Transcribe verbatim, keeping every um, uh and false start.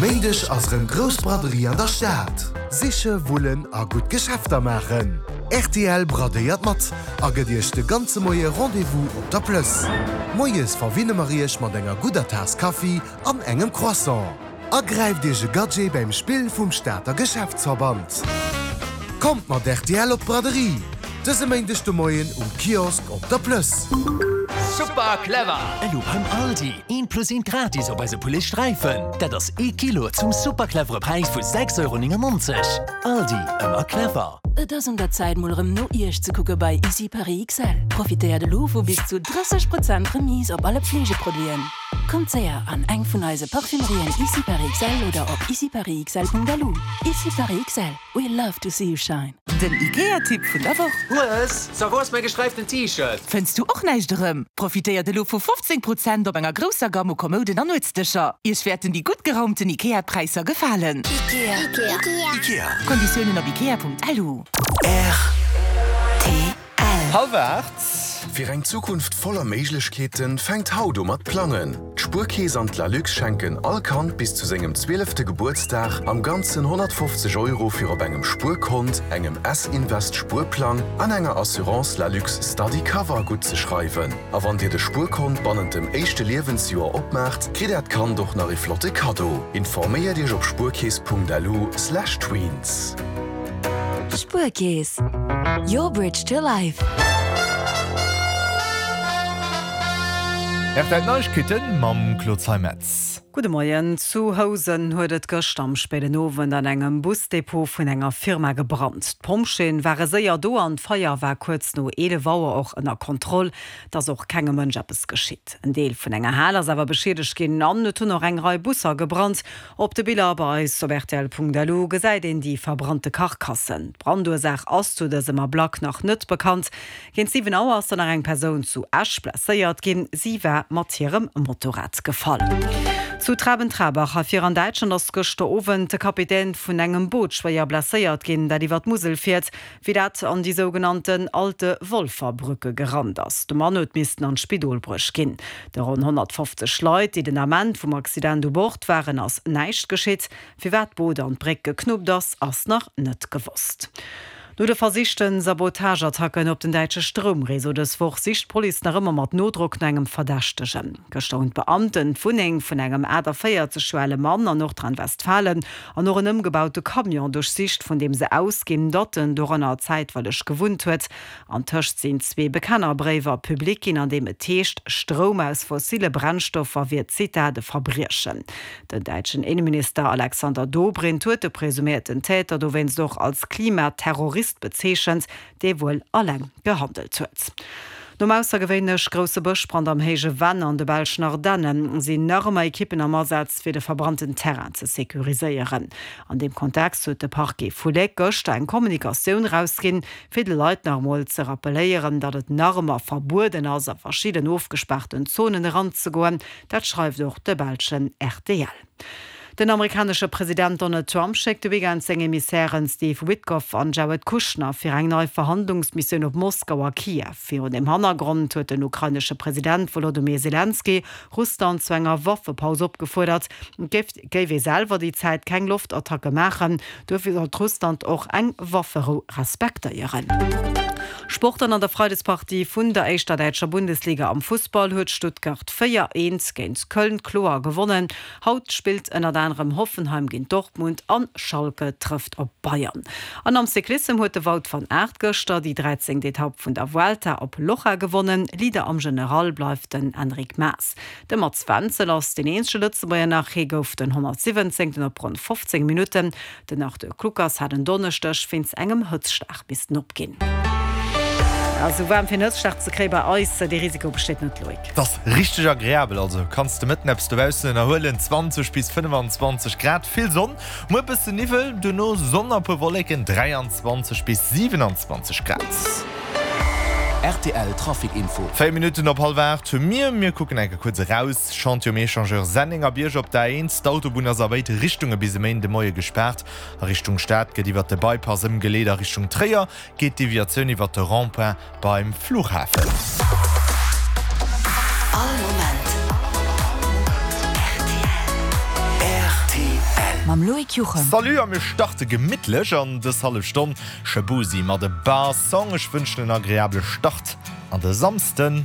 Méindeg ass erëm grouss Braderie an der Stad. Siche, wullen a gutt Geschäfter maachen. Rtl bradéiert mat a gëtt iech de ganze Moie Rendez-vous op der Plëss. Moies verwinne mer iech mat enger gudder Taass Kaffi an engem Croissant. A gräift iech e Gadget beim Spill vum Stater Geschäftsverband. Kommt mat rtl op d'Braderie! Dëse Méindeg de Moien um Kiosk op der Plëss. Super clever! Elo beim Aldi, eent plus eent gratis op eise Poulet Sträifen. Dat ass ee Kilo zum super clevere Präis vu sechs Euro néngennonzeg. Aldi, ëmmer clever! Et ass un der Zäit mol erëm no Iech ze kucke bei Ici Paris XL. Profitéiert elo vu bis zu drësseg Prozent Remise op alle Pflegeproduiten. Kommt séier an eng vun eise Parfümerien Ici Paris XL oder op iciparisxl.lu. Ici Paris XL, we love to see you shine. Den Ikea-Tipp vun der Woch. Hues, so wou ass mäi gesträiften T-Shirt? Fënns du och näischt erëm? Profitéiert elo vu fofzéng Prozent op enger grousser Gamme u Kommouden an Nuetsdëscher. Iech wäerten déi gutt geraumten Ikea-Präisser gefalen. Ikea. Ikea. Ikea. Konditiounen op ikea.lu. Rtl. Hallwer aacht. Fir eng Zukunft voller Méiglechkeeten fänkt haut u mat plangen. D'Spuerkeess an d'Lalux schenken all Kand bis zu sengem zwielefte Gebuertsdag am Ganzen honnertfofzeg Euro fir op engem Spuerkont, engem S-Invest Spuerplang an enger Assurance Lalux Study Cover guttzeschreiwen. A wann dir de Spuerkont bannent dem éischte Liewensjoer opmaacht, kritt äert Kand och nach e flotte Kaddo. Informéiert iech op spuerkeess.lu/tweens. Spuerkeess, your bridge to life. R T L Neiegkeeten mam Claude Zeimetz. Gudde Moien. Zu Housen huet et gëschter am spéiden Owend an engem Busdepot vun enger Firma gebrannt. D'Pompjeeën ware séier do an d'Feier war kuerz no eelef Auer och ënner Kontroll. Et ass och kengem Mënsch eppes geschitt. En Deel vun enger Hal ass awer beschiedegt ginn an et hunn och eng Rei Busser gebrannt. Op de Biller bei eis op rtl.lu gesäit een déi verbrannte Karkassen. D'Brandursaach ass zu dësem Ablack nach net bekannt. Géint siwen Auer ass dann nach eng Persoun zu Esch blesséiert ginn. Si war mat hirem Motorrad gefall. Zu Traben-Trarbach hei vir an Däitschland ass gëschter Owend de Kapitän vun engem Boot schwéier blesséiert ginn, dat iwwer d'Musel fiert, wéi dat an déi sougenannten Alte Wolfer Brücke gerannt ass. De Mann huet missten an d'Spidol bruecht ginn. De ronn honnertfofzeg Leit, déi den Ament vum Accident u Bord waren, ass näischt geschitt. Firwat d'Boot an d'Bréck geknuppt ass, ass nach net gewosst. No de versichte Sabotageattacken op den däitsche Stroumreseau dës Woch sicht d'Police nach ëmmer mat Nodrock no engem Verdächtegen. Gëschter hunn d'Beamten d'Wunneng vun engem aachtavéierzeg Joer ale Mann an Nordrhein-Westfalen an och en ëmgebaute Camion duerchsicht, vun deem se ausginn, datt en doranner zäitweileg gewunnt huet. Antëscht sinn zwee Bekennerbréiwer public ginn, an deem et heescht, Stroum aus fossille Brennstoffer wier, Zitat, e Verbriechen. Den däitschen Inneminister Alexander Dobrindt huet de presuméierten Täter dowéinst och als Klimaterrorist bezeechent, dee wuel alleng gehandelt huet. Nom aussergewéinlech grousse Bëschbrand am Héije Venn an de belschen Ardenne sinn nach ëmmer Ekippen am Asaz, fir de verbrannten Terrain ze securiséieren. An deem Kontext huet de Parquet vu Léck gëschter eng Kommunikatioun erausginn, fir de Leit nach emol ze rappelléieren, datt et nach ëmmer verbueden ass, a verschidden ofgespaarten Zonen eranzegoen. Dat schreift och de belschen R T L. Den amerikanesche President Donald Trump schéckt de Weekend seng Emissären Steve Witkoff an Jared Kushner fir eng nei Verhandlungsmissioun op Moskau a Kiew. Virun dem Hannergrond huet den ukrainesche President Wolodymyr Selenskyj Russland zu enger Waffepaus opgefuerdert. Et géif ee selwer déi Zäit keng Loftattacke maachen, duerfir sollt Russland och eng Wafferou respektéieren. Sport An an der Freidespartie vun der éischter däitscher Bundesliga am Fussball huet Stuttgart véier, eent géint Köln kloer gewonnen. Haut spillt ënnert anerem Hoffenheim géint Dortmund an Schalke trëfft op Bayern. An am Cyclissem huet de Wout van Aert gëschter déi dräizéngt Etapp vun der Vuelta op Loja gewonnen. Leader am General bleift den Enric Mas. De Mats Wenzel ass deen eenzege Lëtzebuerger nach, hie gouf den honnertsiwwenzéngten op ronn fofzéng Minutten. Den Arthur Kluckers hat en Donneschdeg wéinst engem Hëtzschlag missten opginn. Esou waarm fir en Hëtzschlag ze kréie bei eis, dee Risiko besteet net, Loïc. Et ass richteg agreabel, also kanns de mëtten eppes dobaussen ënnerhuelen, zwanzeg bis fënnefenzwanzeg Grad, vill Sonn, muer bëssen Niwwel, duerno Sonn a puer Wolleken, dräianzwanzeg bis siwenanzwanzeg Grad. R T L Trafic Info. Véier Minutten op hallwer aacht hu mir. Mir kucken eng Kéier kuerz eraus. Chantier um Echangeur Sennengerbierg op der A eent. D'Autobunn ass a béid Richtunge bis e Méinden de Moie gespaart. A Richtung Stad gëtt iwwert de Bypass ëmgeleet, a Richtung Tréier geet d'Deviatioun iwwert de Rond-point beim Flughafen. All Moment R T L. Mam Loïc Juchem. Salut a mir starte gemittlech an dës hallef Stonn Shaboozey mat A Bar Song. Ech wënschen en agreabele Start an de Samsden.